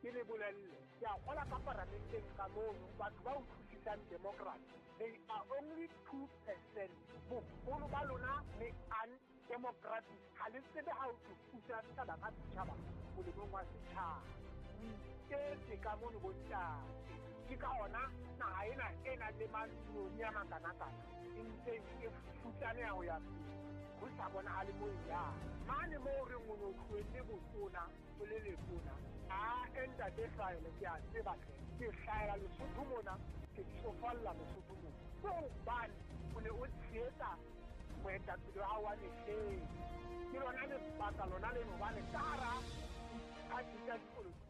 Ke le bolelle, ke a kgola ka paramenteng ka mono batho ba utlwisisang democracy, they are only 2%. Boholo ba lona le undemocratic, ha le tsebe ha ho thwe puso ya setjhaba ka setjhaba molemong wa setjhaba. O iketse ka mono bontate. Ke ka hona naha ena e nang le manoni a makanakana e ntseng e futsaneha ho ya pele, ho sa bonahale mo e yang. Mane moo re reng o no tlohelle botona o le letona, ae ntate Hlwaele ke a tseba hle, ke hlahela Lesotho mona, ke tsofalla Lesotho mona. Ke hobane o ne o tshehetsa moetapele wa hao wa mehleng. Ke lona lebaka lona leno hobane ka hara diphathi tsa dipolotiki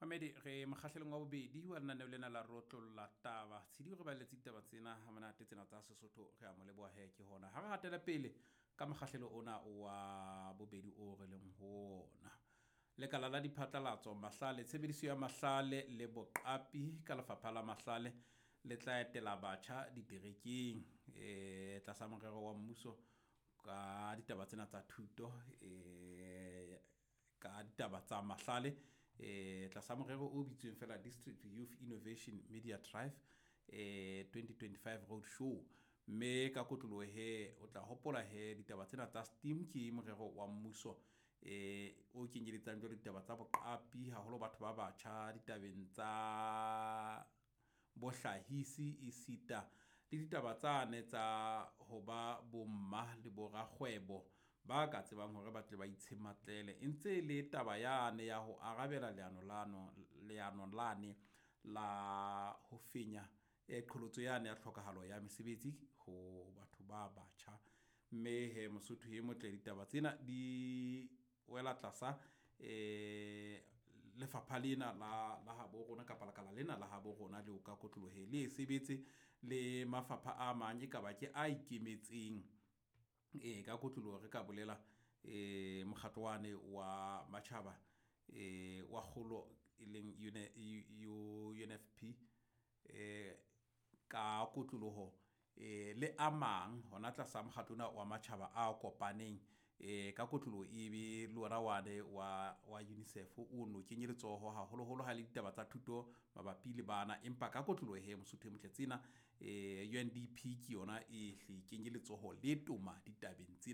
Mamedi, re mokgahlelong wa bobedi wa lenaneo lena la Rotlolla Taba. Tshidi o re baletse ditaba tsena ha monate tsena tsa Sesotho, re a mo leboha he ke hona. Ha re hatele pele ka mokgahlelo ona wa bobedi o re leng ho ona. Lekala la diphatlalatso, mahlale, tshebediso ya mahlale le boqapi ka lefapha la mahlale le tla etela batjha diterekeng e tlasa morero wa mmuso ka ditaba tsena tsa thuto e ka ditaba tsa mahlale e tlasa morero o bitsweng fela District Youth Innovation Media Drive e 2025 Road Show. Mme ka kotloloho he o tla hopola he ditaba tsena tsa STEAM ke morero wa mmuso e o kenyeletsang jwalo ditaba tsa boqapi haholo batho ba batjha ditabeng tsa bohlahisi esita le ditaba tsane tsa ho ba bomma le borakgwebo ba ka tsebang hore ba tle ba itshematlele. E ntse e le taba yane ya ho arabela leano lano leano lane la ho fenya e qholotso yane ya tlhokahalo ya mesebetsi ho batho ba batjha. Mme he Mosotho e motle ditaba tsena di wela tlasa lefapha lena la la habo rona kapa lekala lena la habo rona leo ka kotlolohe le e sebetse le mafapha a mang e kaba ke a ikemetseng. E ka kotloloho re ka bolela e mokgatlo wane wa matjhaba e wa kgolo e leng UNFP e ka kotloloho e le a mang hona tlasa mokgatlo ona wa matjhaba a kopaneng e ka kotloloho e be le ona wane wa wa UNICEF o no kenye letsoho haholoholo ha le ditaba tsa thuto mabapi le bana. Empa ka kotloloho he Mosotho e motle tsena UNDP ke yona e hle kenye letsoho le toma ditabeng tsena.